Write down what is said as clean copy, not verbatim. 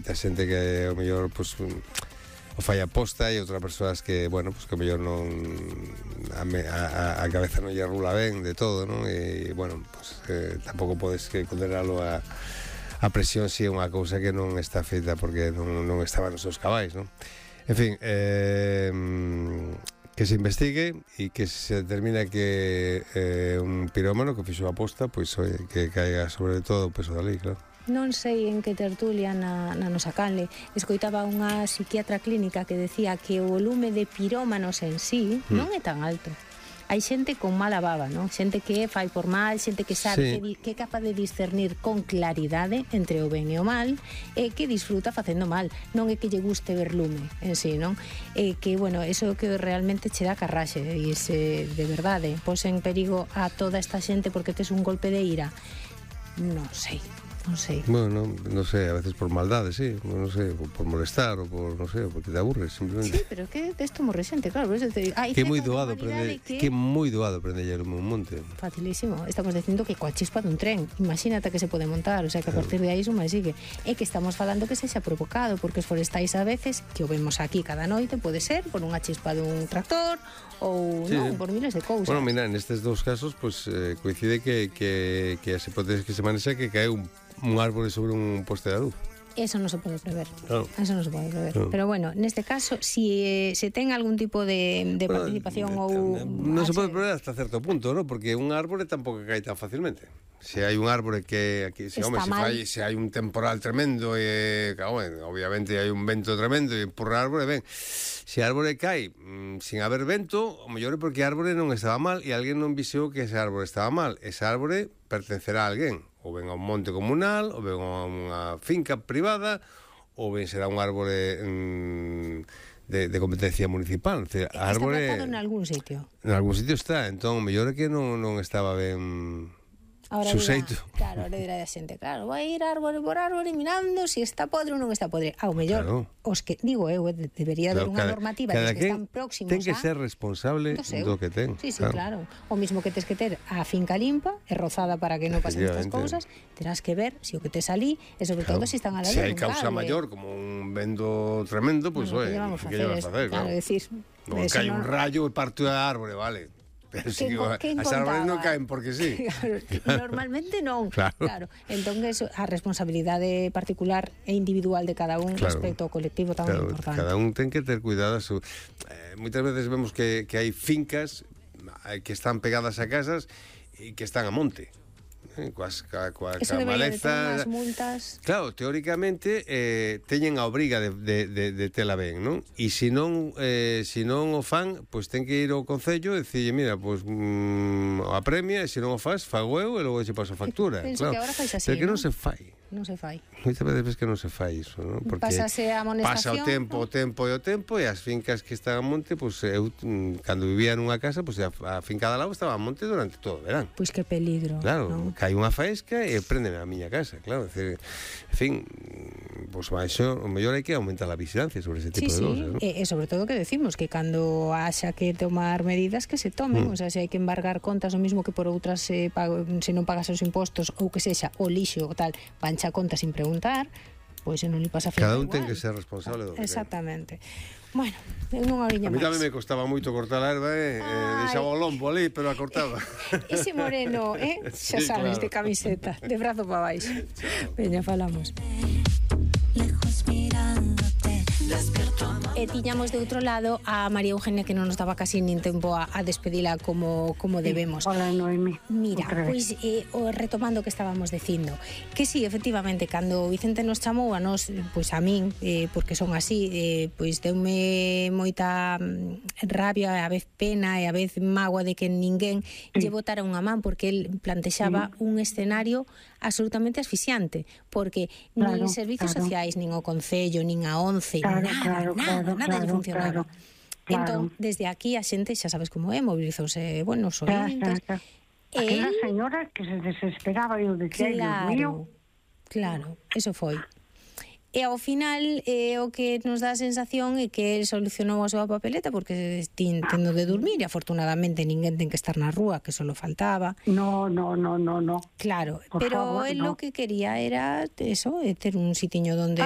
moita xente que ao mellor pues, o fai aposta, e outras persoas que, bueno, pues que ao mellor non a cabeza non lle rula ben de todo, non? E, bueno, pues tampouco podes condenalo a presión se é unha cousa que non está feita porque non estaba nos seus cabais, non? En fin, que se investigue e que se determina que un pirómano que fixo a aposta, pois que caiga sobre todo o peso da lei, claro. Non sei en que tertulia na nosa canle escoitaba unha psiquiatra clínica que decía que o volume de pirómanos en sí non é tan alto. Hai xente con mala baba, non? Xente que fai por mal, xente que sabe, que é capaz de discernir con claridade entre o ben e o mal, e que disfruta facendo mal. Non é que lle guste ver lume en sí, non? E que, bueno, eso é o que realmente che dá carraxe, e se de verdade pos en perigo a toda esta xente porque tes un golpe de ira. Non sei. Bueno, non sei, a veces por maldade, sí, non sei, por molestar ou por, non sei, porque te aburres simplemente. Sí, pero que desto morre xente, claro, por eso te digo, que é moi doado prender un monte. Facilísimo. Estamos dicindo que coa chispa dun tren, imagínate que se pode montar, o sea, que a partir de aí suma e sigue. É que estamos falando que sexa provocado, porque os forestais a veces, que o vemos aquí cada noite, pode ser por unha chispa dun tractor ou non, por miles de cousas. Bueno, mira, nestes dous casos, pues coincide que as hipótesis que se manexa que cae un árbore sobre un poste de luz. Eso non se pode prever. Claro. Eso non se pode prever. Claro. Pero bueno, neste caso, si se ten algún tipo de participación ou... Non se pode prever hasta certo punto, ¿no? Porque un árbore tampouco cae tan facilmente. Se hai un árbore que se hai un temporal tremendo e, obviamente hai un vento tremendo e por árbore, ben, se a árbore cae sin haber vento, o mellor é porque a árbore non estaba mal e alguén non viseou que ese árbore estaba mal. Ese árbore pertencerá a alguén, ou ben a un monte comunal, ou ben a unha finca privada, ou ben será un árbore de competencia municipal. Está plantado en algún sitio. En algún sitio está, entón, o mellor é que non estaba ben... Suseito. Claro, ahora dirá a xente, claro, vai ir árbore por árbore mirando se está podre ou non está podre. Ao mellor, os que, digo eu, debería haber unha normativa que están próximos ten que ser responsable do que ten. Sí, claro. O mismo que tes que ter a finca limpa e rozada para que non pasen estas cousas, terás que ver se o que tes ali, e sobre todo se están a la luz. Se hai causa maior, como un vento tremendo, pois, que lle vas a facer? Claro, decir... Non cae un rayo e parte a árbore, vale... Pero si as árboles non caen porque sí. Claro, normalmente non. Claro. Entón, a responsabilidade particular e individual de cada un respecto ao colectivo tamén é importante. Cada un ten que ter cuidado. Moitas veces vemos que hai fincas que están pegadas a casas e que están a monte. Coas malezas, multas. Claro, teóricamente teñen a obriga de tela ben, non? E se non o fan, pois ten que ir ao concello e dicirlle, mira, pois a premia, e se non o faz, fago eu e logo che paso a factura. Penso que agora fais así, pero que non se fai. Non se fai. Moitas veces que non se fai iso, non? Porque pásase a amonestación, pasa o tempo e as fincas que están a monte, pois eu cando vivía nunha casa, pois a finca de lado estaba a monte durante todo o verán. Pois que peligro. Claro, cae unha faesca e préndeme a miña casa, claro, en fin, pois baixo, o mellor hai que aumentar a vigilancia sobre ese tipo de cousas, non? E sobre todo que decimos que cando haxa que tomar medidas que se tomen, o sea, se hai que embargar contas o mismo que por outras se non pagas os impostos ou que sexa o lixo ou tal, vancha contas sin preguntar, pois non li pasa a cada un ten que ser responsable do que exactamente. Bueno, unha oriña máis. A mí tamén me costaba moito cortar a erva, deixaba o lombo ali, pero a cortaba. Ese moreno, xa sabes, de camiseta, de brazo para baixo. Veña, falamos. Lejos mirándote, despierto amor. E tiñamos de outro lado a María Eugenia, que non nos daba casi nin tempo a despedila como debemos. Hola, Noemi. Mira, pois retomando o que estábamos dicindo, que sí, efectivamente, cando Vicente nos chamou a nos, pois a min, porque son así, pois deume moita rabia, e a vez pena e a vez mágoa de que ninguén lle botara unha man, porque el plantexaba un escenario absolutamente asfixiante, porque nin servizos sociais, nin o Concello, nin a ONCE, nada lle funcionaba. Entón, desde aquí a xente, xa sabes como é, movilizouse, bueno, os ointes. Aquela señora que se desesperaba e o decía, Dios mío. Claro, eso foi. E ao final o que nos dá a sensación é que el solucionou a súa papeleta porque tendo de dormir e afortunadamente ninguén ten que estar na rúa, que só faltaba. No. Claro, por pero favor, el lo que quería era eso, ter un sitiño donde